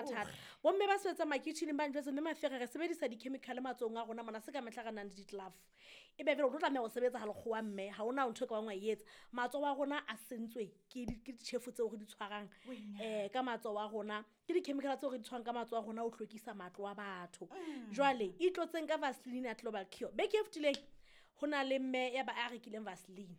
thata. Bomme ba sebetsang makitjheneng ba njwetse, mme Mafere re sebedisa di-chemical matsohong a rona mona, se ka mehla re nang le di-glove. Ebe vele o tlo tlameha ho sebetsa ha lekgowa mme, ha hona ntho e ka bang wa e etsa. Matsoho a rona a sentswe ke ditjhefo tseo re di tshwarang ka matsoho a rona. Ke di-chemical tseo re di tshwarang ka matsoho a rona ho hlwekisa matlo a batho. Jwale, itlotseng ka Vaseline ya Global Cure. Beke e fetileng, ho na le mme ya ba a rekileng Vaseline.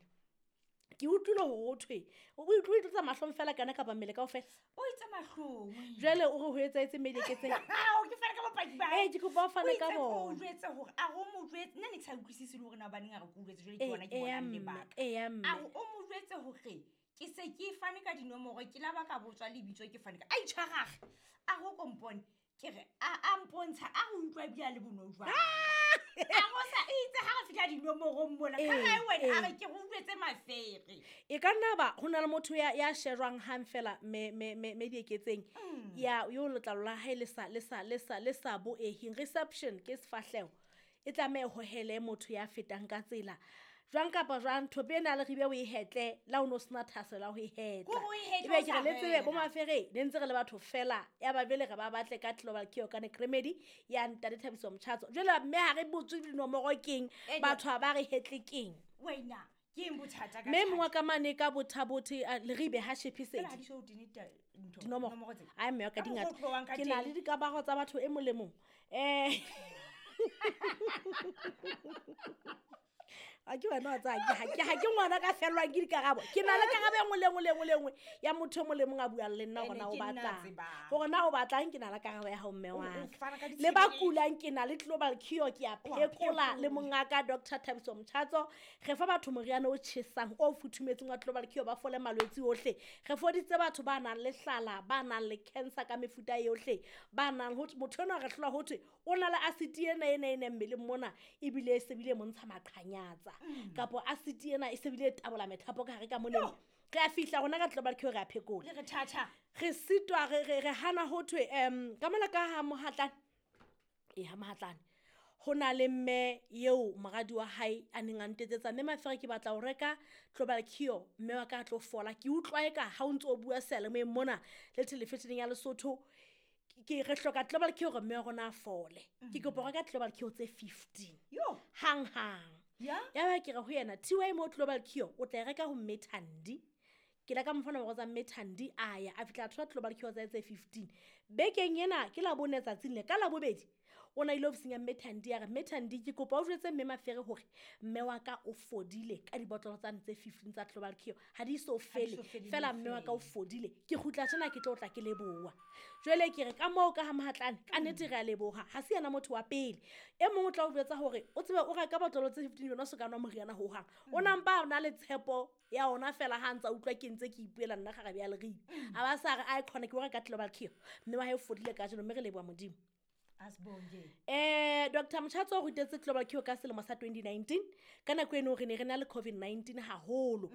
Ke utlwile hore ho thwe, o itlotsa mahlong fela kana kapa mmele kaofela? O itse mahlong. Jwale o re ho etsahetse mme dieketseng. Ao, ke fane ka bopaki ba hae. Ee, ke kopa o fane ka bona. bona. O jwetse hore a re o mo jwetse, nna ne ke sa utlwisise le hore na hobaneng a re ke o jwetse, jwale ke bona ke bonang lebaka. Eya mme. A re o mo jwetse hore ke se ke fane ka dinomoro, ke la ba ka botswa lebitso ke fane ka. A itshwarage. A re o ko mpone. Ke re, a mpontsha, a re utlwa ebile a le bonolo jwang. A go sa itse ha re fihla dinomorong mola, ka ha wena a re ke go utlwetse Mafere. E ka nna ba ho na le motho ya shejwang hang fela me dieketseng. Ya yo letlalo la hae le sa, le sa, le sa, le sa boehing. Reception ke sefahleho. E tlameha ho hele motho ya fetang ka tsela. Jwang kapa jwang, thope ena le ribe o e hetle, la o no sena thahasello ya ho e hetla. Ko o e hetle Ebe o ke sa re le tsebe, bo rera. Mafere, ne ntse re le batho fela, ya ba jwale re ba batle ka Global Cure Organic Remedy ya Ntate Thabiso Motjhatso. Jwale mme ha re botswe dinomoro keng, Ene. batho ha ba re hetle keng. Wena, ke eng bothata ka Mme thata? mongwe wa ka mane ka bothabothe, Leribe ha Shephesedi. Fela ha di so tene ntho, Dinomoro. dinomoro tse. Ai, mme wa ka Ka di mokgwa ngata. o tlohang ka Ke na teng. le dikamaro tsa batho e molemong. A ke wena wa tsaya, ha ke ngwana ka fellwang ke dikarabo. Ke na le karabo e nngwe le nngwe le nngwe le nngwe ya motho e mong le mong a buang le nna hore Ene na o ke nna batlang. tsebang. Hore na o batlang, ke na le karabo ya hao mme O wa ka. fana ka Le ba ditshebeletso. kulang, ke na le Global Cure, ke a O a phekola le phekola. mongaka Doctor Thabiso Motjhatso. Re fa batho moriana o tjhesang, o futhumetseng wa Global Cure, ba fole malwetse ohle. Re foditse batho ba nang le hlala, ba nang le cancer ka mefuta yohle, ba nang ho thwe, motho enwa re hlola ho thwe, o na le acid ena, ena, ena mmeleng mona, ebile e se bile montsha maqhanyatsa. Kapo acid ena e se bile e tabola methapo ka hare ka moneng. Yo. Re a fihla rona ka Global Cure, re a phekola. Le re thatha. Re sitwa, re hana ho thwe, ka mona ka ha Mohatlane. Ee, ha Mohatlane. Ho na le mme eo moradi wa hae a neng a ntetsetsa, mme Mafere ke batla ho reka Global Cure, mme wa ka a tlo fola. Ke utlwa eka ha o ntso o bua seyalemoyeng mona le television-eng ya Lesotho, ke re hloka Global Cure hore mme wa rona a fole. Ke kopa ho reka Global Cure tse 15. Yo. Hang hang. Ya? Ya ba ke re ho yena, TY mo Global Cure o tla e reka ho mme Thandi. Ke la ka mo fa nomoro tsa mme Thandi, a ya, a fihla a thola Global Cure tsa tse 15. Bekeng ena ke la bone tsatsing le, ka la bobedi, o na ile ofising ya mme Thandi, a re, mme Thandi, ke kopa o jwetse mme Mafere hore mme wa ka o fodile ka dibotlolo tsane tse 15 tsa Global Cure. Ha di so Ha di fele, so fele fela le mme wa ka o fele. fodile. Ke kgutla tjena ke tlo tla ke leboha. Jwale ke re ka moo ka ha Mohatlane, ka nnete re a leboha. Ha se yena motho wa pele. E mong o tla o jwetsa hore o tsebe o reka botlolo tse 15 yona o so ka nwa moriana hohang. O na mpa a na le tshepo ya ona fela ha ntsa utlwa ke ntse ke ipuela nna kgarabe ya Leribe. A ba sa re, ai khona ke o reka Global Cure. Mme wa hae o fodile kajeno, mme re leboha Modimo. Asibonge. Doctor Motjhatso o rutetse Global Cure ka selemo sa 2019. Ka nako eno re ne re na le COVID-19 haholo.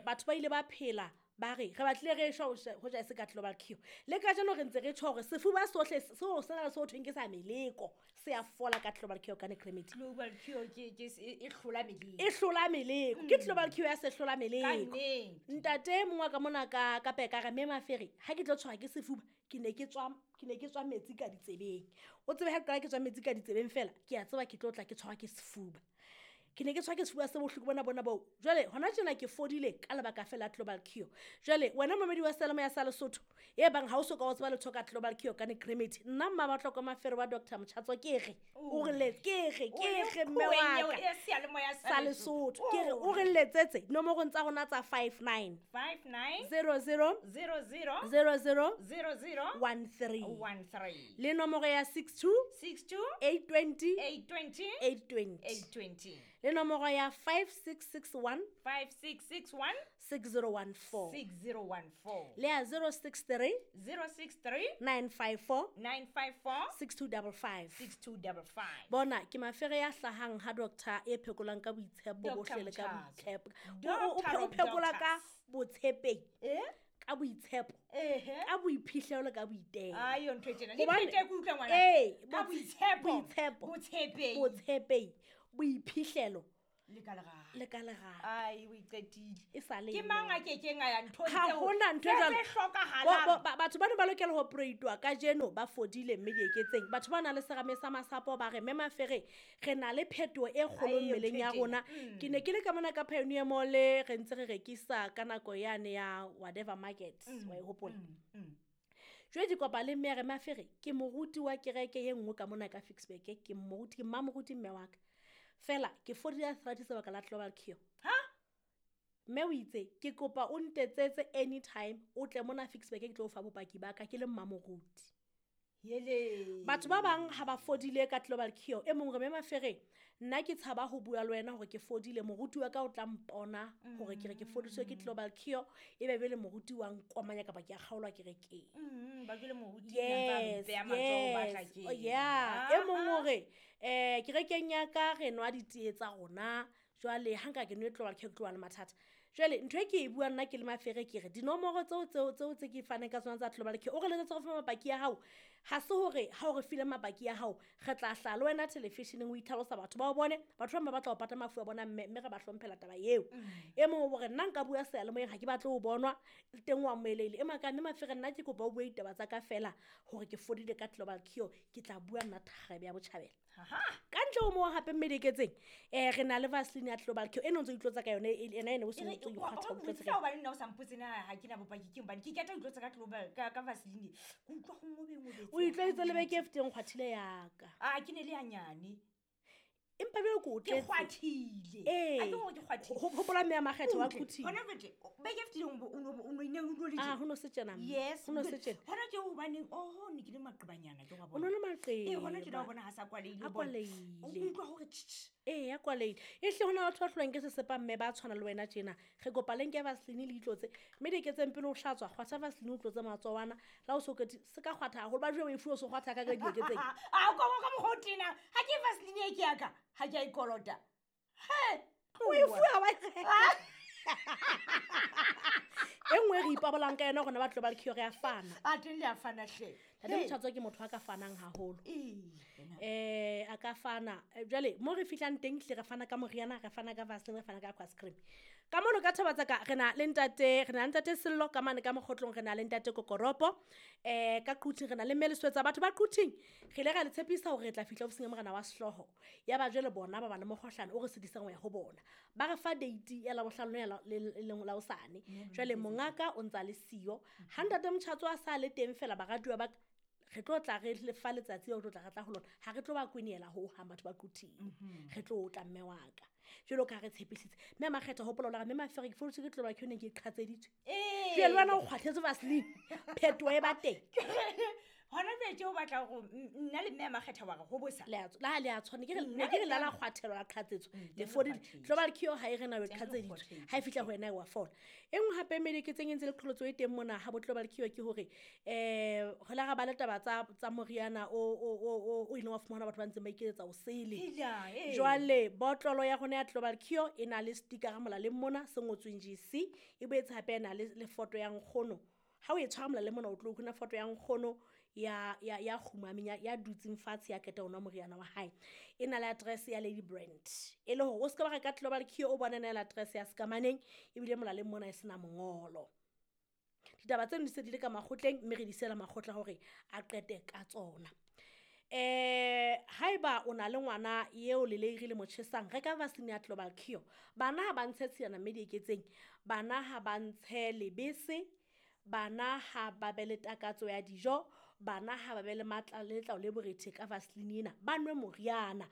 Batho ba ile ba phela ba re, re batlile re shwa ho ja e se ka Global Cure. Le kajeno re ntse re tjho hore sefuba sohle seo se na le se ho thweng ke sa meleko, se a fola ka Global Cure Organic Remedy. Global Cure ke, ke se, e, e hlola meleko. E hlola meleko. Ke Global Cure ya se hlola Ka meleko. nnete. Ntate mongwe wa ka mona ka peka re, mme Mafere, ha ke tlo tshwarwa ke sefuba, ke ne ke tswa metsi ka ditsebeng. O tsebe ha ke qala ke tswa metsi ka ditsebeng fela, ke a tseba ke tlo tla ke tshwarwa ke sefuba. Ke ne ke tshwarwa ke sefuba se bohloko bona bona boo. Jwale hona tjena ke fodile ka lebaka fela la Global Cure. Jwale wena momedi wa Seyalemoya sa Lesotho, e bang ha o so ka o tseba letho ka Global Cure Organic Remedy, nna Mmabatloko Mafere wa Doctor Motjhatso ke re, o re le, ke re, ke O le re mme kgweng wa eo ka. e seyalemoya sa Sa Lesotho. Lesotho. Ke re, o re letsetse dinomorong tsa rona tsa five nine. Five nine. Zero zero. Zero zero. Zero zero. Zero zero. One three. One three. Le nomoro ya six two. 62. 820. 820. 820. 820. Le nomoro ya 5661. 5661. 6014. 6014. Le ya 063. 063. 954. 954. 6255. 6255. Bona ke Mafere ya hlahang ha doctor e phekolang ka boitshepo Doctor bohle le ka Motjhatso. boitshepo. Doctor O of phekola ka doctors. botshepehi. Eh? Ka boitshepo. Ehe. Ka boiphihlelo le ka boitelo. Ai, yo ntho e tjena. Hobane Le phete ke utlwa ngwana. Ee, Ka boitshepo. boitshepo. Botshepehi. Botshepehi. Boiphihlelo. Le ka lerato. Le ka lerato. Ai, o iqetile. E sa le Ke mang a kekeng a ya nthong Ha tseo? hona ntho e Tse jwalo. tse hlokahalang. Batho bano ba lokela ho operatwa kajeno ba fodile mme dieketseng. Batho ba nang le serame sa masapo ba re mme Mafere re na le phetoho e kgolo Ai, mmeleng ya ntho e rona. tjena. Ke ne ke le ka mona ka Pioneer Mall re ntse re rekisa ka nako yane ya whatever market, wa e hopola. Jwale ke kopa le mme a re Mafere ke moruti wa kereke e nngwe ka mona ka Ficksburg, ke moruti, ke mmamoruti mme wa ka. Fela ke fodile arthritis lebaka la Global Cure. Ha? Mme o itse ke kopa o ntetsetse anytime o tle mona Ficksburg ke tlo o fa bopaki ba ka ke le mmamoruti. Hele. Batho ba bang ha ba fodile ka Global Cure, e mong re mme Mafere nna ke tshaba ho bua le wena hore ke fodile, moruti wa ka o tla mpona hore ke re ke fodiswe ke Global Cure, ebe jwale moruti wa nkomanya kapa ke a kgaolwa kerekeng. Ba jwale moruti a ntse a Yes, mpeya matsoho ba tla yes. ke. Oh, yeah. E mong o re, kerekeng ya ka re nwa ditee tsa rona, jwale ha nka ke nwe Global Cure ke tlo ba le mathata. Jwale ntho e ke e buang nna ke le Mafere ke re dinomoro tseo tseo tseo tse ke faneng ka tsona tsa Global Cure, o re letsetse go fa mapaki a hao. Ha se hore ha o re file mapaki a hao re tla hlaha le wena television-eng o itlhalosa batho ba o bone, batho ba bang ba batla ho pata mafu a bona mme re ba hlomphela taba eo. E mong o re nna nka bua seyalemoyeng ha ke batle ho bonwa, le teng wa mmoelehile. E maka mme Mafere nna ke kopa o bue ditaba tsa ka feela hore ke fodile ka Global Cure, ke tla bua nna tharebe ya botjhabela. Aha. Ka ntle ho moo hape mme dieketseng, re na le Vaseline ya Global Cure e no ntso itlotsa ka yone, ena ene o se E re, ntso wa- ikgwatha wa o itlotse botsisa ka yona. hobane nna o sa mpotse na ha ke na bopaki ke hobane ke keta ho itlotsa ka Global, ka Vaseline. Ke utlwa ho ngobengobetse O itlwaeditse le beke e fetileng kgwathile ya ka. Ah, ke ne le hanyane. Empa jwale ke o Ke tletse. kgwathile. Ee. Ha ke hore ke kgwathile. Hopola mme ya Makgetho wa Utlwe, Quthing. hona jwale, beke e fetileng o no- o no- ne o no le Ah, tjena. ho no se tjena mme. Yes, Ho no se jwale, tjena. hona tje hobaneng, oho, ne ke le maqebanyana ke wa O no bona. le maqeba. Ee, hona tjena wa bona ha sa kwalehile, A o bona. O kwalehile. utlwa hore tsh, tsh. Ee, a kwalehile. Ehlile ho na le batho ba hlolwang ke sesepa mme ba tshwana le wena tjena. Re kopa le nke Vaseline le itlotse. Mme dieketseng pele o hlatswa, kgwatha Vaseline o tlotse matsoho ana. Le ha o so qetile, se ka kgwatha haholo, ba jwetse o e fuwe o so kgwatha ka dieketseng. Ah, ka mokgwa o tena. Ha ke Vaseline e ke ya ka, ha ke a e kolota. He, O e fuwe ha wa e reka. E nngwe e re ipabolang ka yona rona ba Global Cure re a fana. A teng le a fana hle. Ntate Motjhatso ke motho a ka fanang haholo. Ee, wena. A ka fana. Jwale mo re fihlang teng hle re fana ka moriana, re fana ka Vaseline, re fana ka aqua cream. Ka mono ka thaba tsa ka re na le ntate, re na le ntate Sello ka mane ka mokgotlong, re na le ntate Kokoropo. Ka Quthing re na le mme Leswetsa. Batho ba Quthing re ile ra le tshepisa hore re tla fihla ofising ya morena wa sehlooho. Ya ba jwale bona ba ba le mokgohlane o re sitisang ho ya ho bona. Ba re fa date ya Labohlano ya le leng la hosane. Jwale mongaka o ntsa le siyo. Ha ntate Motjhatso a sa le teng fela baratuwa ba ka, re tlo tla re le fa letsatsi leo re tlo tla re tla ho lona. Ha re tlo ba kwenehela hohang batho ba Quthing. Re tlo tla mme wa ka. Jwalo ka ha re tshepisitse. Mme Makgetho hopola hore mme Mafere ke fodisitswe ke Global Cure ne ke qhatseditswe. Ee. Jwale le wena o kgwathetse Vaseline. Phetoho e ba teng. Hona jwale tje o batla hore nna le mme Makgetho wa re ho bosa. Le a la ha le a tshwana. Ke re, Nna ne ke re le la la mme- kgwathelwa, la qhatsetswa. Mm, Le teng re fodile. kgwathetse. Global Cure ha e re na o Teng re qhatseditswe. kgwathetse. Ha e fihla ho wena e wa fola. E nngwe hape mediketseng e ntse le qholotso e teng mona ha bo Global Cure ke hore, ho la ra ba le taba tsa moriana o ileng wa fumana batho ba ntseng ba iketsetsa o sele. Hela, ee. Jwale botlolo ya rona ya Global Cure e na le sticker molaleng mona se ngotsweng GC, e boetse hape e na le foto ya nkgono. Ha o e tshwara molaleng mona o tlo bona foto ya nkgono ya kgumameng, ya dutseng fatshe ya qeta ho nwa moriana wa hae. E na le address ya Lady Brand. E le hore o se ka ba reka Global Cure o bone na le address ya Sekamaneng, ebile molaleng mona e sena mongolo. Ditaba tseno di se di le ka makgotleng mme re di siela makgotla hore a qete ka tsona. Haeba o na le ngwana eo leleiri le mo tjhesang, reka Vaseline ya Global Cure. Bana ha ba ntshe tshilana mme dieketseng, bana ha ba ntshe lebese, bana ha ba be le takatso ya dijo, bana ha ba be le matla le letlalo le borethe ka Vaseline ena, ba nwe moriana.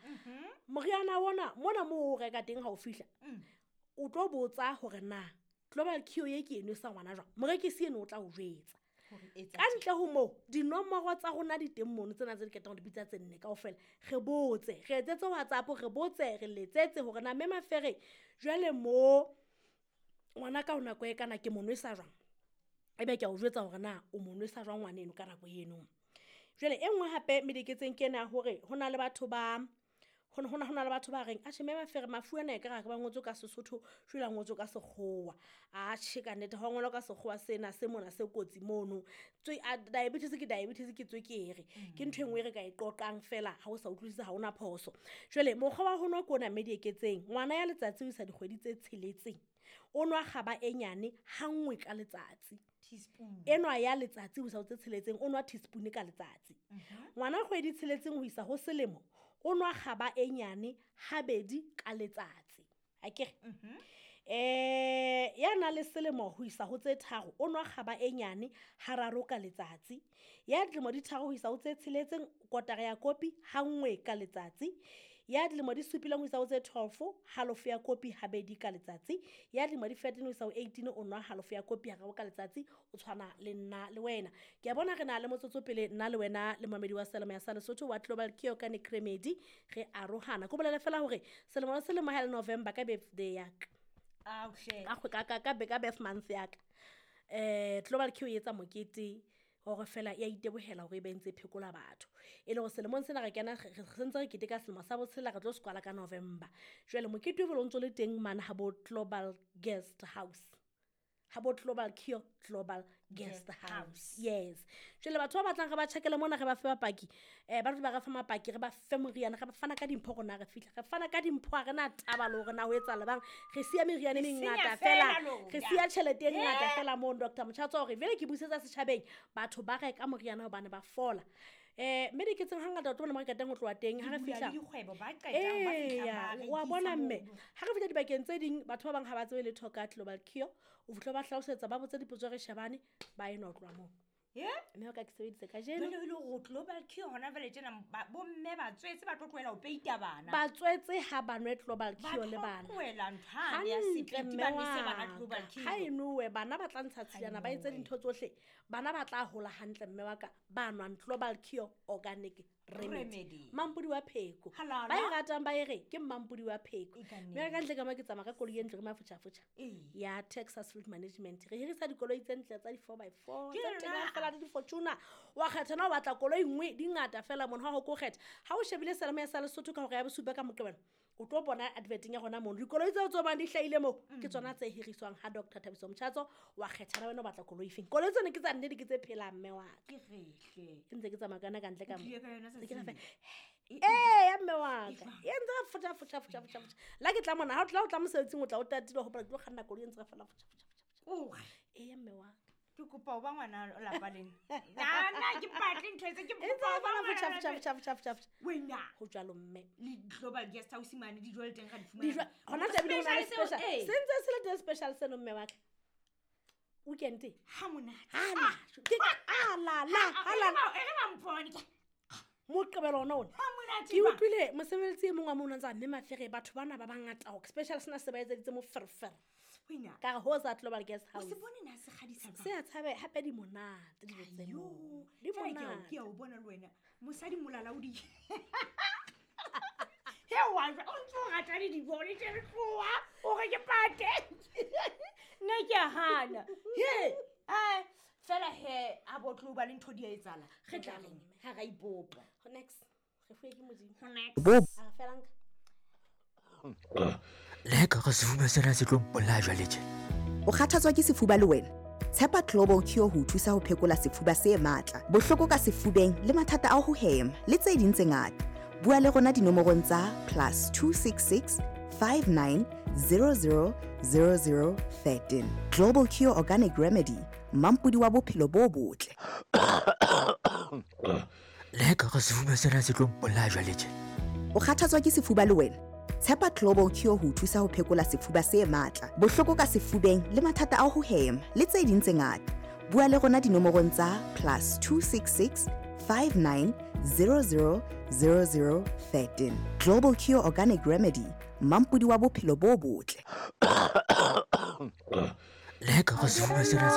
Moriana ona mona moo o reka teng ha o fihla, o tlo botsa hore na Global Cure e ke e nwesa ngwana jwang. Morekisi eno o tla o jwetsa. Hore etsa Ka ntle ho moo, dinomoro tsa rona di teng mono tsena tse di ketang ho di bitsa tse nne kaofela. Re botse, re etsetse WhatsApp, re botse, re letsetse hore na mme Mafere jwale mo ngwana ka ho nako e kana ke mo nwesa jwang. Ebe ke a o jwetsa hore na o mo nwesa jwang ngwaneno ka nako eno. Jwale e nngwe hape mediketseng ke ena ya hore ho na le batho ba, Ho na le batho ba reng atjhe mme Mafere mafu ana e ka re ba ngotswe ka Sesotho, jwale a ngotswe ka Sekgowa. Atjhe ka nnete ha o ngolwa ka Sekgowa sena se mona se kotsi mono. Diabetes ke diabetes ke tswekere. Ke ntho e nngwe e re ka e qoqang fela ha o sa utlwisise ha hona phoso. Jwale mokgwa wa ho nwa ke ona mme Dieketseng. Ngwana ya letsatsi ho isa dikgwedi tse 6 o nwa kgaba e nyane ha nngwe ka letsatsi. Teaspoon. Enwa ya letsatsi ho isa ho tse 6 o nwa teaspoon ka letsatsi. Ngwana kgwedi 6 ho isa ho selemo o nwa kgaba e nyane habedi ka letsatsi. Akere? Ya na le selemo ho isa ho tse 3 o nwa kgaba e nyane hararo ka letsatsi. Ya dilemo di 3 ho isa ho tse 6 kotara ya kopi ha nngwe ka letsatsi. Ya dilemo di 7 ho isa ho tse 12 halofo ya kopi habedi ka letsatsi. Ya dilemo di 13 ho isa ho 18 o nwa halofo ya kopi hararo ka letsatsi, o tshwana le nna le wena. Ke a bona re na le motsotso pele nna le wena le momamedi wa Selemo ya sa Lesotho wa Global Cure Organic Remedy re arohana. Ko bolele fela hore selemo le selemo ha le November ka birthday ya ka. Auhle. Ka kgwe, ka, ka, ka, ka birth month ya ka. Global Cure e etsa mokete hore fela ya itebohela hore e be ntse e phekola batho. E le hore selemong sena re kena, re sentse re keteka selemo sa botshela, re tlo se kwala ka November. Jwale mokete o bile o ntso le teng mane ha bo Global Guest House. Ha bo Global Cure Global Guest Guest House. House. Yes. Jwale batho ba batlang re ba tjhakele mona re ba fe bapaki, ba tlo ba re fa mapaki, re ba fe moriana, re ba fana ka dimpho rona re fihla. Re fana ka dimpho, ha re na taba le hore na ho etsahala bang. Re siya meriana e Re senya mengata fela fela. lona. Re siya tjhelete e ngata fela moo, Doctor Motjhatso, hore vele ke busetsa setjhabeng, batho ba reka moriana hobane ba fola. Mme Dieketseng hangata o tlo bona mo re qetang ho tloha teng, ha re Di bula fihla le dikgwebo, ba qetang, ba fihla Eya, ba wa rekisa bona mme, mono. ha re fihla dibakeng tse ding, batho ba bang ha ba tsebe letho ka Global Cure. O fihla ba hlalosetsa, ba botse dipotso re shebane, ba enwa ho tloha moo. Ye? Mme o ka ke sebedise kajeno. Jwale e le hore Global Cure hona jwale tjena, bomme ba tswetse ba tlo tlohela ho peita bana. Ba tswetse ha ba nwe Global Ba Cure le tlo bana. tlohela ntho hane ya Hantle, sepiti, mme ba nwese bana wa Global ka. Cure. Ha e nowe, bana ba tla ntsha Ha e tshilana, ba etse nowe. dintho tsohle. Bana ba tla hola hantle, mme wa ka, ba nwang Global Cure Organic Remedy. Remedy. Mampodi wa pheko. Halala. Ba e ratang ba e re, ke mampodi wa pheko. E ka Mme ka nnete. ntle ka mo ke tsamaya ka koloi e ntle, ke mafotjhafotjha. Ee. Ya Texas Fleet Management. Re hirisa dikoloi tse ntle tsa di four by four, Ke tse yona. tena fela le di-Fortuner. Wa kgetha na o batla koloi nngwe, di ngata fela mono, ha ho ko kgetha. Ha o shebile Selemo ya sa Lesotho ka hora ya bosupa ka Moqebelo, o tlo bona adverteng ya rona mono. Dikoloi tseo tse bang di hlahile moo, ke tsona tse hiriswang ha Doctor Thabiso Motjhatso. Wa kgetha na wena o batla koloi efeng. Koloi tsena ke tsa nnete, ke tse phelang, mme wa ka. Ke rehle. Ke ntse ke tsamaya ka yona ka ntle ka O mo. tlile ka yona Ke tsatsing re lena. Ee, ya mme wa E ka. jwang? E ntse re fotja, fotja, fotja, fotja, fotja. La ke tla mona, ha o tla, o tla mosebetsing, o tla o tatile, o hopola ke tlo kganna koloi e ntse re fela fotja, fotja, fotja, fotja. Ore. Ee, ya mme wa ka. Ke kopa ho ba ngwana lapa lena. Nna ke batle ntho tse, ke E ntse kopa ho re ba fela ngwana fotja, lapa fotja, lena. fotja, fotja, fotja, fotja. Wena. Ho jwalo, mme. Le Global Guest House mane, dijo le teng ra di Dijo, fumana. hona tje ebile ho na le Special seo, special. ee. Se ntse se le teng special seno, mme wa ka. Weekend e? Ha monate. Ha la, ke ka, a la, la, ha la. E re ba mpone ke. Moqebelo ona ona. Ha monate Ke ba. utlwile mosebeletsi e mong wa mono a ntse a re, mme Mafere, batho bana ba bangata hore special sena se ba etseditse moferefere. Wena. Ka re ho sa Global Guest O se House. bone na se kgadisa jwang? Se a tshabe hape di monate dijo tse Ayo, moo. Di jwale ke a o- monate. ke a o bona le wena. Mosadi molalaodi. He wa jwa, o ntso o rata le dibone tje re tloha, o re ke pate. Nna ke a hana. He, fela he, a bo tlo ba le ntho di a etsahala. Re tla reng ha ra ipopa. Ho next. Re fuwe ke Modimo. Ho next. Bo. A re fela nka. Le ha ekare sefuba sena se tlo mpolaya jwale tje. O kgathatswa ke sefuba le wena? Tshepa Global Cure ho o thusa ho phekola sefuba se matla, bohloko ka sefubeng le mathata a ho hema le tse ding tse ngata. Bua le rona dinomorong tsa +266 59 00 00 13. Global Cure Organic Remedy, mampodi wa bophelo bo botle. Le ha ekare sefuba sena se tlo mpolaya jwale tje. O kgathatswa ke sefuba le wena? Tshepa Global Cure ho o thusa ho phekola sefuba se matla, bohloko ka sefubeng le mathata a ho hema le tse ding tse ngata. Bua le rona dinomorong tsa +266 59 00 00 13. Global Cure Organic Remedy, mampodi wa bophelo bo botle. Le ha ekare sefuba sena se